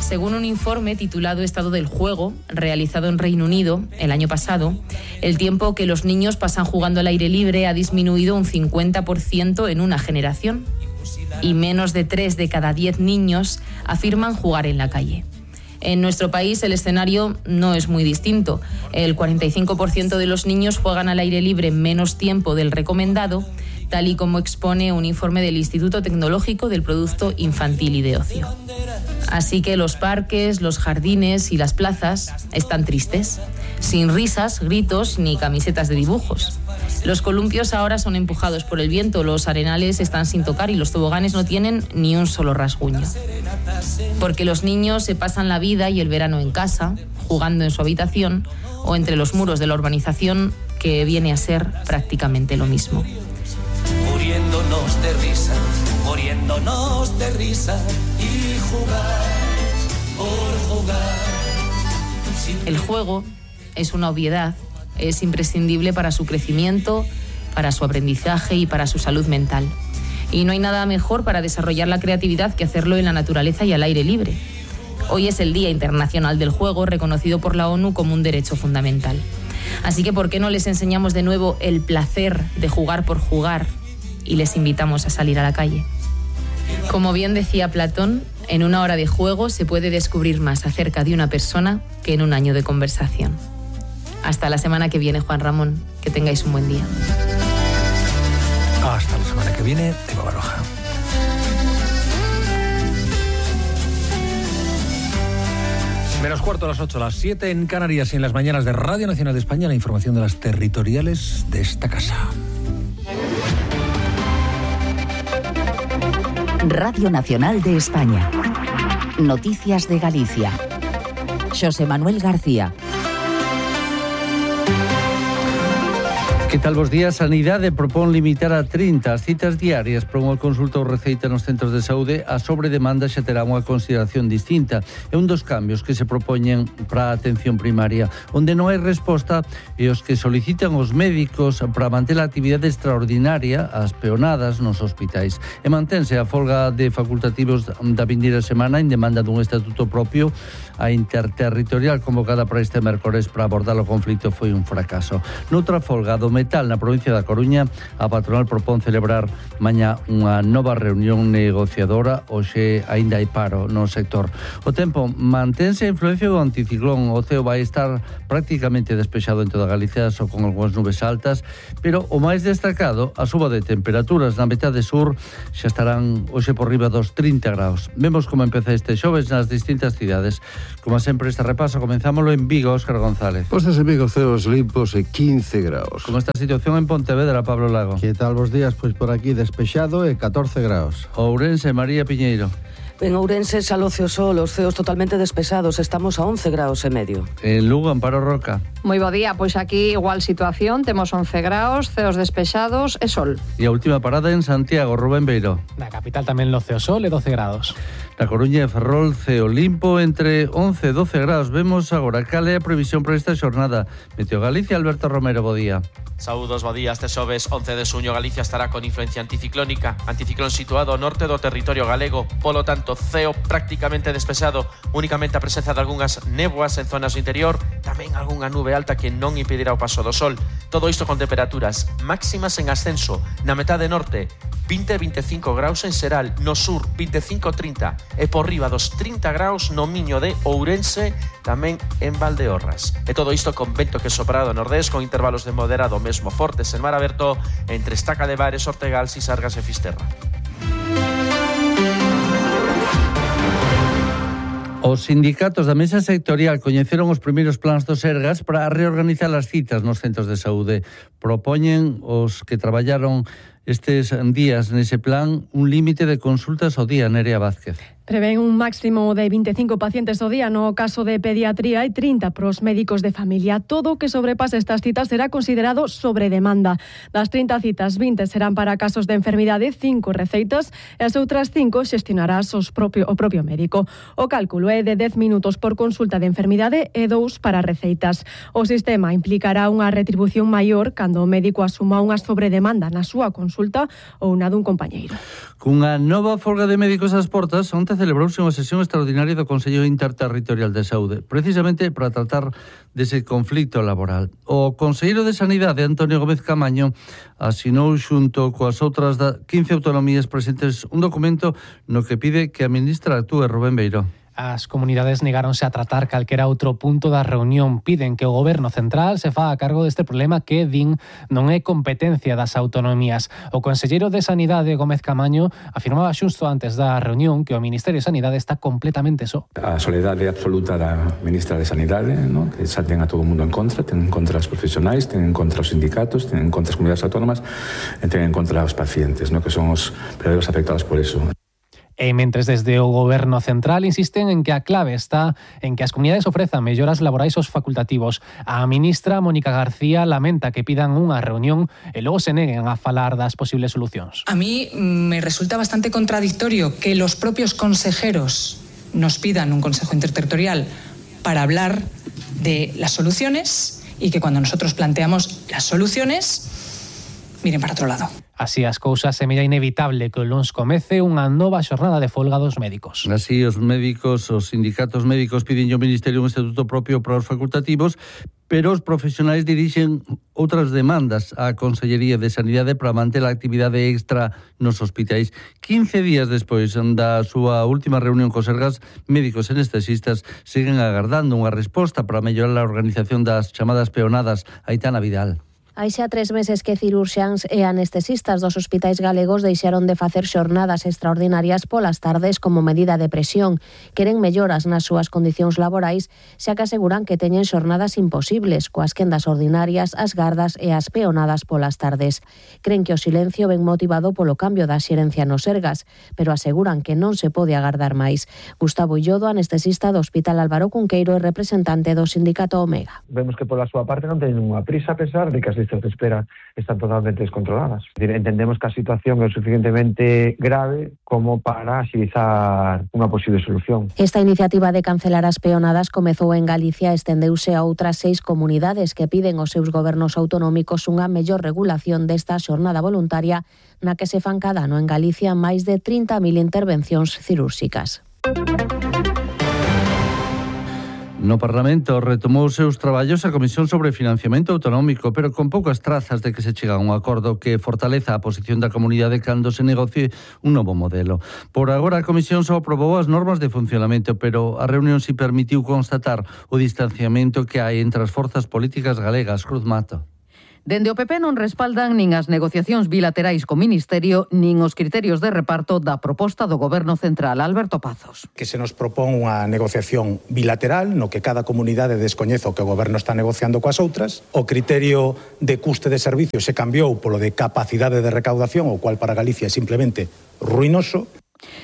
Según un informe titulado Estado del Juego, realizado en Reino Unido el año pasado, el tiempo que los niños pasan jugando al aire libre ha disminuido un 50% en una generación. Y menos de 3 de cada 10 niños afirman jugar en la calle. En nuestro país el escenario no es muy distinto. El 45% de los niños juegan al aire libre menos tiempo del recomendado, tal y como expone un informe del Instituto Tecnológico del Producto Infantil y de Ocio. Así que los parques, los jardines y las plazas están tristes, sin risas, gritos ni camisetas de dibujos. Los columpios ahora son empujados por el viento, los arenales están sin tocar y los toboganes no tienen ni un solo rasguño. Porque los niños se pasan la vida y el verano en casa, jugando en su habitación o entre los muros de la urbanización, que viene a ser prácticamente lo mismo. Muriéndonos de risa y jugar por jugar. El juego es una obviedad, es imprescindible para su crecimiento, para su aprendizaje y para su salud mental. Y no hay nada mejor para desarrollar la creatividad que hacerlo en la naturaleza y al aire libre. Hoy es el Día Internacional del Juego, reconocido por la ONU como un derecho fundamental. Así que, ¿por qué no les enseñamos de nuevo el placer de jugar por jugar y les invitamos a salir a la calle? Como bien decía Platón, en una hora de juego se puede descubrir más acerca de una persona que en un año de conversación. Hasta la semana que viene, Juan Ramón. Que tengáis un buen día. Hasta la semana que viene, Eva Baroja. Menos cuarto a las 8, a las 7 en Canarias y en las mañanas de Radio Nacional de España, la información de las territoriales de esta casa. Radio Nacional de España. Noticias de Galicia. Xosé Manuel García. Que tal vos días? Sanidade propón limitar a 30 as citas diarias para unha consulta ou receita nos centros de saúde. A sobredemanda xa terá unha consideración distinta. É un dos cambios que se propoñen para a atención primaria, onde non hai resposta e os que solicitan os médicos para manter a actividade extraordinaria, as peonadas nos hospitais. E mantense a folga de facultativos da vindeira semana en demanda dun estatuto propio. A interterritorial convocada para este mércores para abordar o conflito foi un fracaso. Noutra folga do metal na provincia da Coruña, a patronal propón celebrar mañá unha nova reunión negociadora. Hoxe aínda hai paro no sector. O tempo mantense a influencia do anticiclón. O ceo vai estar prácticamente despexado en toda Galicia, só con algunhas nubes altas, pero o máis destacado, a suba de temperaturas na metade sur xa estarán hoxe por riba dos 30 graus. Vemos como empeza este xoves nas distintas cidades. Como sempre, este repaso comenzámoslo en Vigo, Óscar González. Postas en Vigo, ceos limpos e 15 graus. Como está a situación en Pontevedra, Pablo Lago? Que tal vos días? Pois por aquí despexado e 14 graus. Ourense, María Piñeiro. En Ourense, Xalocio Sol, os ceos totalmente despesados, estamos a 11 graus e medio. En Lugo, Amparo Roca. Moi bo día, pois aquí igual situación, temos 11 graus, ceos despexados e sol. E a última parada en Santiago, Rubén Beiro. Na capital tamén lo ceo sol e 12 grados. Na Coruña e Ferrol, ceo limpo entre 11 e 12 graus. Vemos agora cal é a previsión para esta xornada. Meteo Galicia, Alberto Romero, bo día. Saúdos, bo día. Este xoves 11 de suño Galicia estará con influencia anticiclónica. Anticiclón situado ao norte do territorio galego. Polo tanto, ceo prácticamente despexado. Únicamente a presenza de algunhas néboas en zonas do interior. Tamén algunha nube alta que non impedirá o paso do sol. Todo isto con temperaturas máximas en ascenso. Na metade norte, 20-25 graus en Seral. No sur, 25-30. E por riba dos 30 graus no Miño de Ourense, tamén en Valdeorras. E todo isto con vento que sopra do nordés, con intervalos de moderado mesmo fortes en mar aberto entre Estaca de Bares, Ortegal, Sisargas e Fisterra. Os sindicatos da mesa sectorial coñeceron os primeiros plans do Sergas para reorganizar as citas nos centros de saúde. Propoñen os que traballaron estes días nese plan un límite de consultas ao día. Nerea Vázquez. Prevén un máximo de 25 pacientes ao día no caso de pediatría e 30 pros médicos de familia. Todo o que sobrepase estas citas será considerado sobre demanda. Das 30 citas, 20 serán para casos de enfermidade, 5 receitas e as outras 5 xestionarás o propio médico. O cálculo é de 10 minutos por consulta de enfermidade e 2 para receitas. O sistema implicará unha retribución maior cando o médico asuma unha sobredemanda na súa consulta ou na dun compañeiro. Cunha nova folga de médicos ás portas, onte celebrouse unha sesión extraordinaria do Consello Interterritorial de Saúde, precisamente para tratar dese conflito laboral. O conselleiro de Sanidade, Antonio Gómez Camaño, asinou xunto coas outras 15 autonomías presentes un documento no que pide que a ministra actúe. Rubén Beiro. As comunidades negáronse a tratar calquera outro punto da reunión. Piden que o Goberno central se faga a cargo deste problema que, din, non é competencia das autonomías. O conselleiro de Sanidade, Gómez Camaño, afirmaba xusto antes da reunión que o Ministerio de Sanidade está completamente só. A soledade absoluta da ministra de Sanidade, ¿no? Que xa ten a todo o mundo en contra, ten en contra os profesionais, ten en contra os sindicatos, ten en contra as comunidades autónomas e ten en contra os pacientes, ¿no? Que son os verdadeiros afectados por eso. E mentres desde o Goberno central insisten en que a clave está en que as comunidades ofrezan melloras laborais aos facultativos. A ministra Mónica García lamenta que pidan unha reunión e logo se neguen a falar das posibles solucións. A mí me resulta bastante contradictorio que los propios consejeros nos pidan un consejo interterritorial para hablar de las soluciones y que cuando nosotros planteamos las soluciones miren para otro lado. Así as cousas, semella inevitable que o luns comece unha nova xornada de folga dos médicos. Así, os sindicatos médicos piden ao Ministerio un estatuto propio para os facultativos, pero os profesionais dirixen outras demandas á Consellería de Sanidade para manter a actividade extra nos hospitais. 15 días despois da súa última reunión cos sergas, médicos e anestesistas siguen agardando unha resposta para mellorar a organización das chamadas peonadas. Aitana Vidal. Hai xa 3 meses que cirurxiáns e anestesistas dos hospitais galegos deixaron de facer xornadas extraordinarias polas tardes como medida de presión. Queren melloras nas súas condicións laborais, xa que aseguran que teñen xornadas imposibles, coas quendas ordinarias, as gardas e as peonadas polas tardes. Cren que o silencio ven motivado polo cambio da xerencia nos sergas, pero aseguran que non se pode agardar máis. Gustavo Illodo, anestesista do Hospital Álvaro Cunqueiro e representante do sindicato Omega. Vemos que pola súa parte non teñen unha prisa a pesar de que as listas de espera están totalmente descontroladas. Entendemos que a situación é suficientemente grave como para axilizar unha posible solución. Esta iniciativa de cancelar as peonadas comezou en Galicia e estendeuse a outras 6 comunidades que piden aos seus gobernos autonómicos unha mellor regulación desta xornada voluntaria na que se fan cada ano en Galicia máis de 30.000 intervencións cirúrxicas. No Parlamento retomou os seus traballos a Comisión sobre Financiamento Autonómico, pero con poucas trazas de que se chega a un acordo que fortaleza a posición da comunidade cando se negocie un novo modelo. Por agora, a Comisión só aprobou as normas de funcionamento, pero a reunión si permitiu constatar o distanciamento que hai entre as forzas políticas galegas. Cruz Mato. Dende o PP non respaldan nin as negociacións bilaterais co Ministerio nin os criterios de reparto da proposta do Goberno Central. Alberto Pazos. Que se nos propón unha negociación bilateral no que cada comunidade descoñece o que o Goberno está negociando coas outras. O criterio de custe de servicios se cambiou polo de capacidade de recaudación, o cual para Galicia é simplemente ruinoso.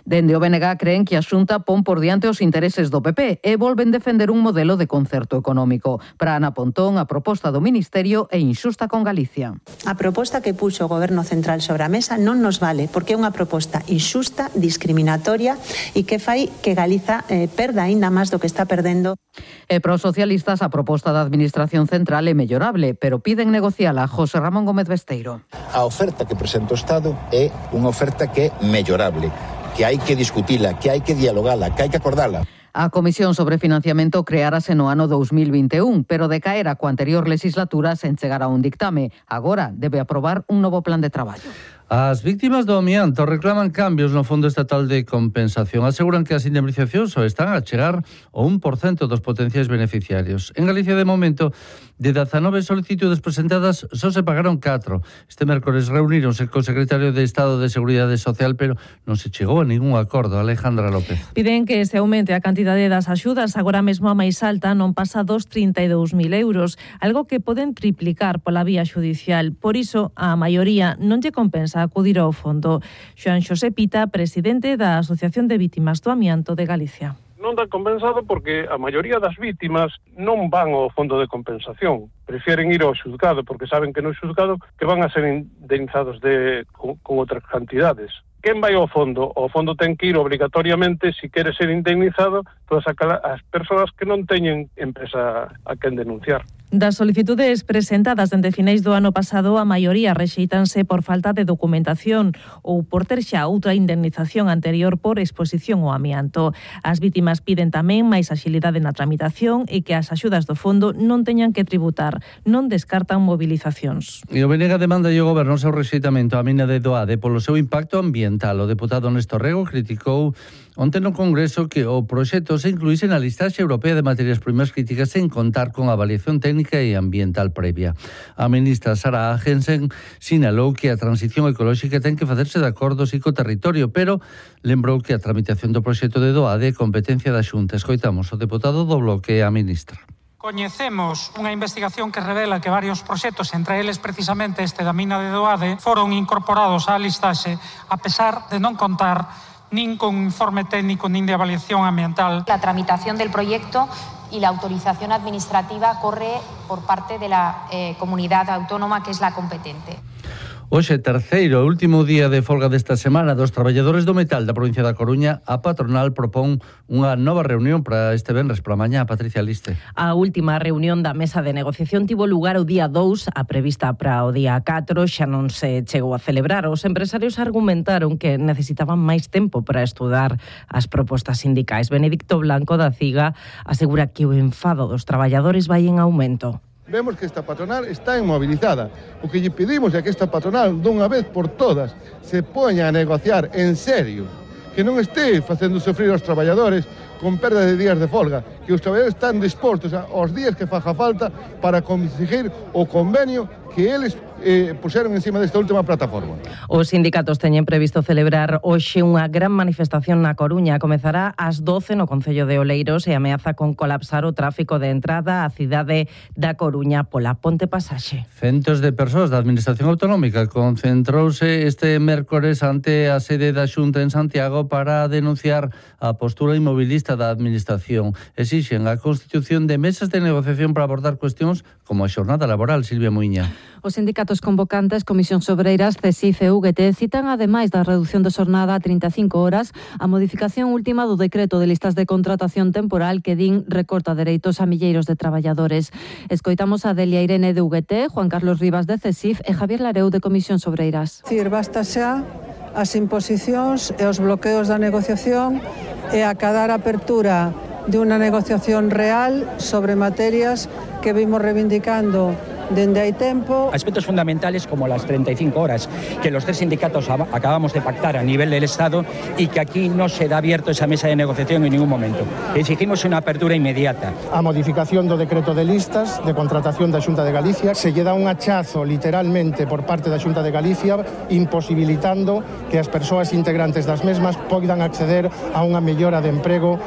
Dende o BNG creen que a Xunta pon por diante os intereses do PP e volven defender un modelo de concerto económico. Para Ana Pontón, a proposta do Ministerio é inxusta con Galicia. A proposta que puxo o Goberno Central sobre a mesa non nos vale, porque é unha proposta inxusta, discriminatoria e que fai que Galiza perda aínda máis do que está perdendo. E para os socialistas a proposta da Administración Central é mellorable, pero piden negociala. José Ramón Gómez Besteiro. A oferta que presenta o Estado é unha oferta que é mellorable, que hai que discutila, que hai que dialogala, que hai que acordala. A Comisión sobre Financiamento creárase no ano 2021, pero de caer a coa anterior legislatura sen chegar a un dictame. Agora debe aprobar un novo plan de traballo. As víctimas do amianto reclaman cambios no Fondo Estatal de Compensación. Aseguran que as indemnizacións só están a chegar ao 1% dos potenciais beneficiarios. En Galicia, de momento, de 19 solicitudes presentadas, só se pagaron 4. Este mércores reuníronse co secretario de Estado de Seguridade Social, pero non se chegou a ningún acordo. Alejandra López. Piden que se aumente a cantidade das axudas, agora mesmo a máis alta non pasa dos 32.000 euros, algo que poden triplicar pola vía xudicial. Por iso, a maioría non lle compensa acudir ao fondo. Xoan Xosé Pita, presidente da Asociación de Vítimas do Amianto de Galicia. Non dá compensado porque a maioría das vítimas non van ao fondo de compensación. Prefieren ir ao xuzgado porque saben que no xuzgado que van a ser indemnizados con outras cantidades. Quen vai ao fondo? O fondo ten que ir obrigatoriamente, se quere ser indemnizado, todas as persoas que non teñen empresa a quen denunciar. Das solicitudes presentadas dende finais do ano pasado, a maioría rexeitanse por falta de documentación ou por ter xa outra indemnización anterior por exposición ao amianto. As vítimas piden tamén máis axilidade na tramitación e que as axudas do fondo non teñan que tributar. Non descartan mobilizacións. E o Benega demanda o Goberno seu rexeitamento á mina de Doade polo seu impacto ambiental. O deputado Néstor Rego criticou onte no Congreso que o proxecto se incluíse na listaxe europea de materias primas críticas sen contar con avaliación técnica e ambiental previa. A ministra Sara Agensen sinalou que a transición ecolóxica ten que facerse de acordo co territorio, pero lembrou que a tramitación do proxecto de Doade é competencia da Xunta. Escoitamos o deputado do Bloque e a ministra. Coñecemos unha investigación que revela que varios proxectos, entre eles precisamente este da mina de Doade, foron incorporados á listaxe a pesar de non contar nin con informe técnico nin de avaliación ambiental. La tramitación del proyecto y la autorización administrativa corre por parte de la comunidad autónoma que es la competente. Hoxe, terceiro e último día de folga desta semana dos traballadores do metal da provincia da Coruña, a patronal propón unha nova reunión para este venres pola mañá. Patricia Liste. A última reunión da mesa de negociación tivo lugar o día 2, a prevista para o día 4 xa non se chegou a celebrar. Os empresarios argumentaron que necesitaban máis tempo para estudar as propostas sindicais. Benedicto Blanco da CIGA asegura que o enfado dos traballadores vai en aumento. Vemos que esta patronal está inmovilizada. O que lle pedimos é que esta patronal, dunha vez por todas, se poña a negociar en serio, que non este facendo sofrir aos traballadores con perda de días de folga, que os traballadores están dispostos aos días que faja falta para conseguir o convenio que eles puxeron encima desta última plataforma. Os sindicatos teñen previsto celebrar hoxe unha gran manifestación na Coruña. Comezará ás 12 no Concello de Oleiros e ameaza con colapsar o tráfico de entrada á cidade da Coruña pola Ponte Pasaxe. Centos de persoas da Administración Autonómica concentrouse este mércores ante a sede da Xunta en Santiago para denunciar a postura inmobilista da Administración. Exixen a constitución de mesas de negociación para abordar cuestións como a xornada laboral. Silvia Muiña. Os sindicatos convocantes, Comisións Obreiras, CESIF e UGT, citan, ademais da reducción de xornada a 35 horas, a modificación última do decreto de listas de contratación temporal que din recorta dereitos a milleiros de traballadores. Escoitamos a Delia Irene de UGT, Juan Carlos Rivas de CESIF e Javier Lareu de Comisións Obreiras. Basta xa as imposicións e os bloqueos da negociación e acadar a apertura de unha negociación real sobre materias que vimos reivindicando dende hai tempo. Aspectos fundamentales como las 35 horas que los tres sindicatos acabamos de pactar a nivel del Estado y que aquí no se da abierto esa mesa de negociación en ningún momento. Exigimos una apertura inmediata. A modificación do decreto de listas de contratación da Xunta de Galicia se lle dá un hachazo literalmente por parte da Xunta de Galicia imposibilitando que as persoas integrantes das mesmas poidan acceder a unha mellora de emprego.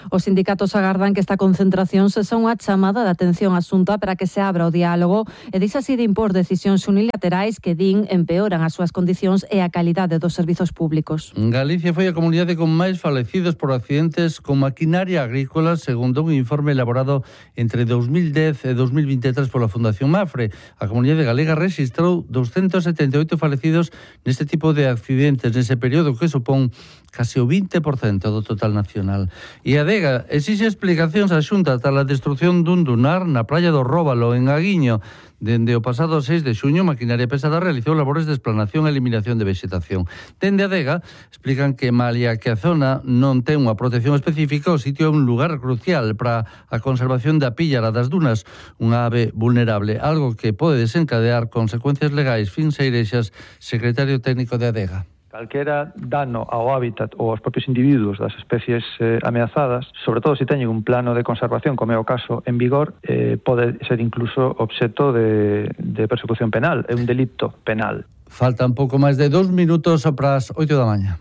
Os sindicatos agardan que esta concentración sexa unha chamada de atención á Xunta para que se abra o diálogo e deixe así de impor decisións unilaterais que din empeoran as súas condicións e a calidade dos servizos públicos. Galicia foi a comunidade con máis falecidos por accidentes con maquinaria agrícola, segundo un informe elaborado entre 2010 e 2023 pola Fundación Mafre. A comunidade galega rexistrou 278 falecidos neste tipo de accidentes nese período, que supón case o 20% do total nacional. E a DEGA exixe explicacións á Xunta tras a destrucción dun dunar na praia do Róbalo, en Aguiño. Dende o pasado 6 de xuño, Maquinaria Pesada realizou labores de explanación e eliminación de vexetación. Dende a DEGA explican que malia que a zona non ten unha protección específica, o sitio é un lugar crucial para a conservación da píllara das dunas, unha ave vulnerable, algo que pode desencadear consecuencias legais. Fin Seirexas, secretario técnico de ADEGA. Calquera dano ao hábitat ou aos propios individuos das especies ameazadas, sobre todo se teñen un plano de conservación, como é o caso en vigor, pode ser incluso obxecto de persecución penal, é un delito penal. Faltan pouco máis de 2 minutos para as 8 da mañá.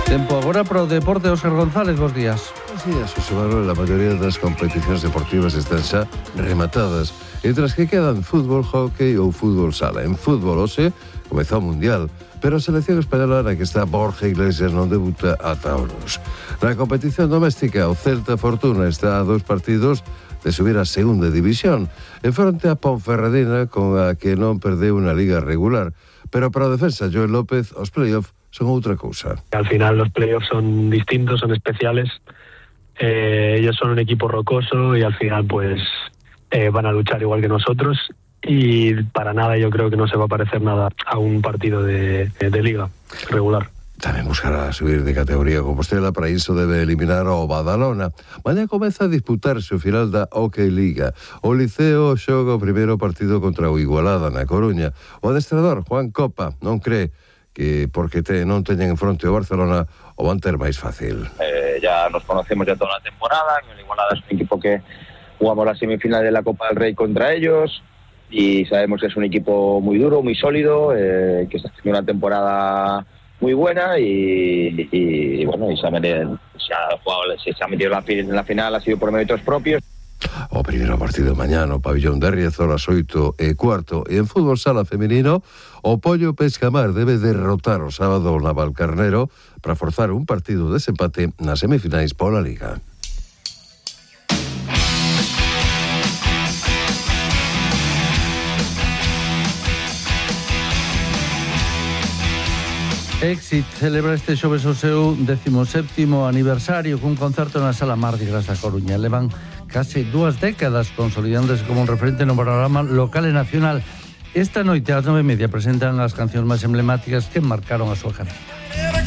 Tempo agora para o deporte. Óscar González, bons días. Bons días, José Manuel. A maioría das competicións deportivas están xa rematadas, entre as que quedan fútbol, hóquei ou fútbol sala. En fútbol, hoxe, comezou o Mundial, pero a selección española na que está Borja Iglesias non debuta ata Ouros. Na competición doméstica, o Celta Fortuna está a 2 partidos de subir a segunda división, en fronte a Ponferradina, con a que non perdeu unha liga regular. Pero para o defensa Joel López, os play-off son outra cousa. Al final los play-offs son distintos, son especiales, Ellos son un equipo rocoso y al final pues van a luchar igual que nosotros, y para nada yo creo que no se va a parecer nada a un partido de liga regular. Tamén buscará subir de categoría Compostela, para iso debe eliminar ao Badalona. Mañá comeza a disputarse o final da Hockey Liga. O Liceo xoga o primeiro partido contra o Igualada na Coruña. O adestrador Juan Copa non cree que porque non teñen en fronte o Barcelona o van ter máis fácil. Ya nos conocemos ya toda la temporada. El Igualada es un equipo que jugamos la semifinal de la Copa del Rey contra ellos y sabemos que es un equipo muy duro, muy sólido, que está haciendo una temporada muy buena y bueno, y se ha metido en la final, ha sido por méritos propios. O primeiro partido mañá no pabillón de Riazor ás 8:15. E en fútbol sala feminino, o Pollo Pescamar debe derrotar o sábado o Navalcarnero para forzar un partido de desempate nas semifinais pola Liga. Éxit celebra este xoves o seu 17º aniversario cun concerto na Sala Mardi Gras da Coruña. Levan case 2 décadas consolidándose como un referente no panorama local e nacional. Esta noite ás 9:30 presentan as cancións máis emblemáticas que marcaron a súa carreira.